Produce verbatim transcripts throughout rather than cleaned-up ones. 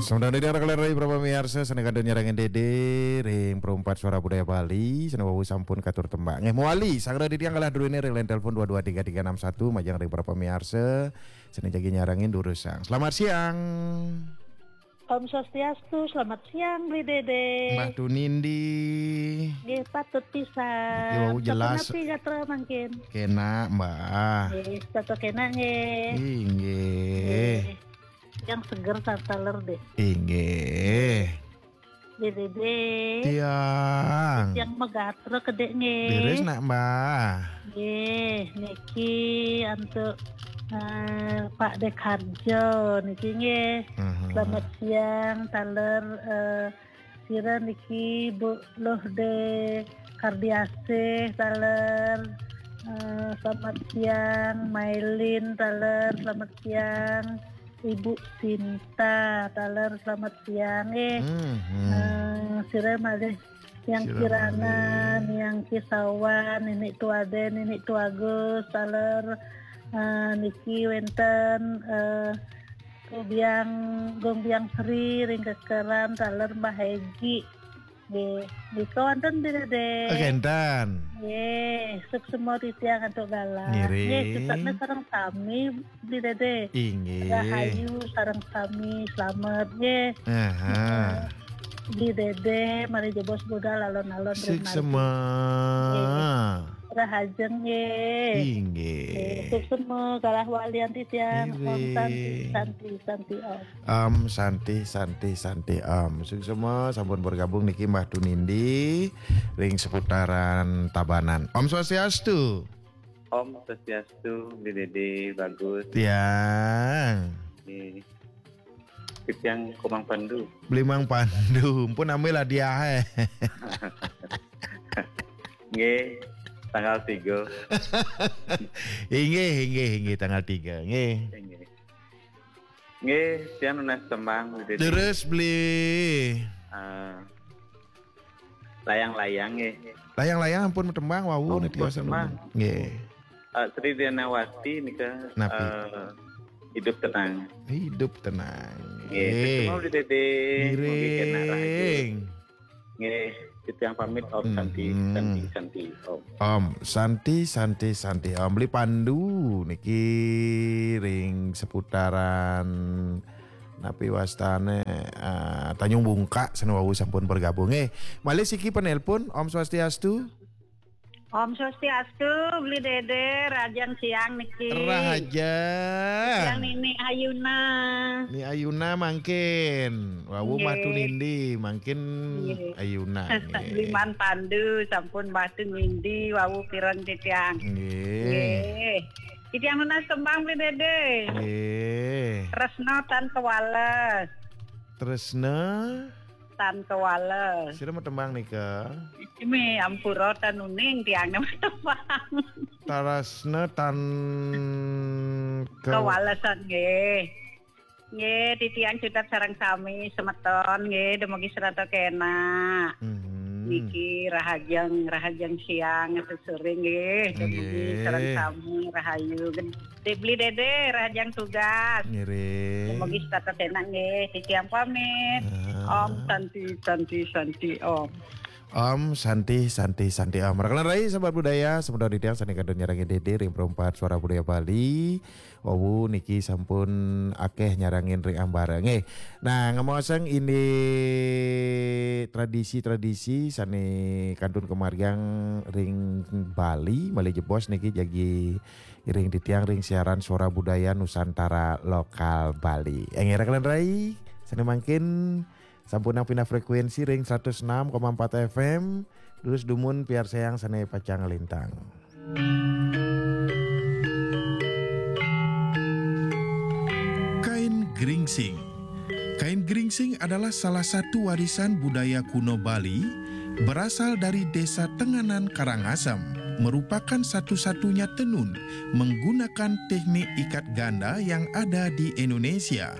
Sementara di arah kalian rai para pamiarsa, sané kantun nyarengin Dédé ring Perumpat Suara Budaya Bali, sané wau sampun katur tembang. Nggih, mawali, sanggra titiang galah druéné ring line telepon dua dua tiga tiga enam satu, majeng ring para pamiarsa, sané jagi nyarengin durusang. Selamat siang. Om Swastiastu, selamat siang, Bli Dédé. Mbah Tunindi. Nggih, patut pisan. Nggih, wau jelas. Sapunapi gatra mangkin? Kénak, Mbah. Nggih, tetep kénak, nggih. Inggih. Nggih. Yang seger taler deh. Inggih. Bli Dédé. Tiang. Yang megatra kedék nggih. Leres nak, Mbah. Nggih, niki antuk, eh, Pak Dék Harjo niki nggih. Mhm. Selamat siang, taler, eh, sira niki Bu Luh Dé Kardiasih, taler. Eh, selamat siang, Mailin, taler. Selamat siang, Ibu Sinta, taler. Selamat siang, eh. Hmm, hmm. Eh, sira malih Yang Sira Kirana, malih. Yang Kisawan, Nini Tuade, Nini Tuagus, taler. Eh, niki wénten, eh, Gung Biang, Gung Biang Sri, ring Kekeran, taler Mbah Hegi. Nggih, nika wonten Bli Dédé. Oh, kénten. Nggih, suksma titiang antuk galah. Ngiring. Nggih, suksma sareng sami Bli Dédé. Inggih. Rahayu sareng sami, slamet nggih. Aha. Bli Dédé, malih jebos budal alon-alon ring margi. Suksma. Nggih. Rahajeng nggih. Inggih. Nggih, suksma galah walian titiang. Om Santi, Ngiring. Santi, Santi Om. Om Santi, Santi, Santi Om. Suksma sampun bergabung niki Mbah Tunindi ring seputaran Tabanan. Om Swastiastu. Om Swastiastu, Bli Dédé, bagus. Tiang. Nggih. Titiang Komang Pandu. Beli Mang Pandu, ampun ambil hadiah, eh. Nggih, tanggal tiga. Inggih, inggih, inggih, tanggal tiga, nggih. Nggih. Nggih, tiang nunas tembang, Bli Dédé. Terus beli. Eh, layang-layang, nggih. Layang-layang ampun tembang, wau. Oh, niki ampun tembang. Nggih. Eh, Sri Dianawati nika, Napi? Eh, Hidup Tenang. Hidup Tenang. Nggih, nggih. Terus semua, Bli Dédé. Ngiring. Mugi kénak rahayu. Nggih, titiang pamit, Om Santi, Mm-mm. Santi, Santi, Om. Om Santi, Santi, Santi, Om. Beli Pandu niki ring seputaran napi wastané, eh, Tanjung Bungka, sané wau sampun bergabung. Eh, malih siki penelpon, Om Swastiastu. Om Swastiastu, Beli Dédé, rahajeng siang niki. Rahajeng. Siang Nini Ayuna. Ni Ayuna mangkin. Wau Nggih. Mbah Tunindi, mangkin Nggih. Ayuna, nggih. Beli Mang Pandu, sampun Mbah Tunindi, wau pireng titiang. Nggih. Nggih. Titiang nunas tembang, Beli Dédé. Nggih. Tresna tan kewales. Tresna? Tan kewales. Sira matembang nika? Ini ampura tan uning tiangnya matembang. Tresna tan ke- Kewalesan nggih. Nggih, titiang cutet sareng sami semeton nggih, dumugi serata kénak. Mhm. Niki rahajeng, rahajeng siang, sore nggih, dumugi Nggih. sareng sami rahayu. Beli Dédé, rahajeng tugas. Ngiring. Dumugi serata kénak nggih, titiang pamit. Ah. Om Santi, Santi, Santi, Om. Om Santi, Santi, Santi, Om. Rekan rai, sahabat budaya, semeton titiang sané kantun nyarengin Dédé ring Perumpat Suara Budaya Bali. Wau niki sampun akéh nyarengin ring ambara. Nggih. Nah, ngemaosang indik tradisi-tradisi sané kantun kamargiang ring Bali, malih jebos niki jagi iring titiang ring siaran Suara Budaya Nusantara Lokal Bali. Énggih rekan rai, sané mangkin sampunang pindah frekuensi ring seratus enam koma empat F M, durus dumun piarsayang sané pacang lintang. Kain geringsing. Kain geringsing adalah salah satu warisan budaya kuno Bali, berasal dari Desa Tenganan Karangasem, merupakan satu-satunya tenun menggunakan teknik ikat ganda yang ada di Indonesia.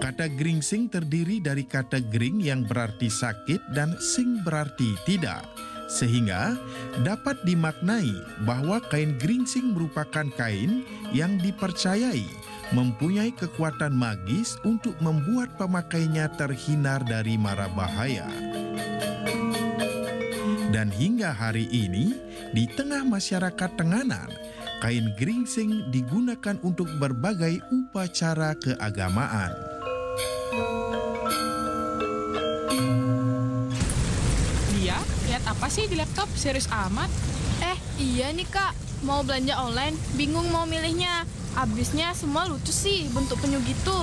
Kata geringsing terdiri dari kata gering yang berarti sakit dan sing berarti tidak. Sehingga dapat dimaknai bahwa kain geringsing merupakan kain yang dipercayai mempunyai kekuatan magis untuk membuat pemakainya terhindar dari mara bahaya. Dan hingga hari ini, di tengah masyarakat Tenganan, kain geringsing digunakan untuk berbagai upacara keagamaan. Dia lihat apa sih di laptop? Serius amat. Eh, iya nih Kak, mau belanja online, bingung mau milihnya. Abisnya semua lucu sih bentuk penyu gitu.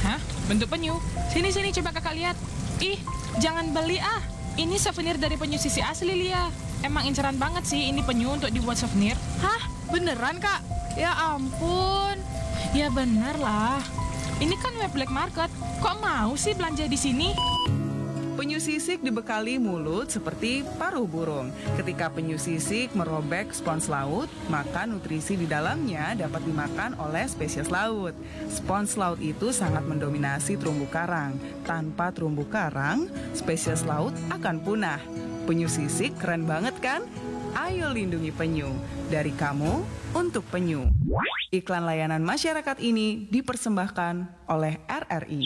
Hah? Bentuk penyu? Sini, sini, coba kakak lihat. Ih, jangan beli ah. Ini souvenir dari penyu sisik asli, Lia. Emang inceran banget sih ini penyu untuk dibuat souvenir. Hah? Beneran Kak? Ya ampun. Ya bener lah. Ini kan web black market. Kok mau sih belanja di sini? Penyu sisik dibekali mulut seperti paruh burung. Ketika penyu sisik merobek spons laut, maka nutrisi di dalamnya dapat dimakan oleh spesies laut. Spons laut itu sangat mendominasi terumbu karang. Tanpa terumbu karang, spesies laut akan punah. Penyu sisik keren banget kan? Ayo lindungi penyu. Dari kamu, untuk penyu. Iklan layanan masyarakat ini dipersembahkan oleh R R I.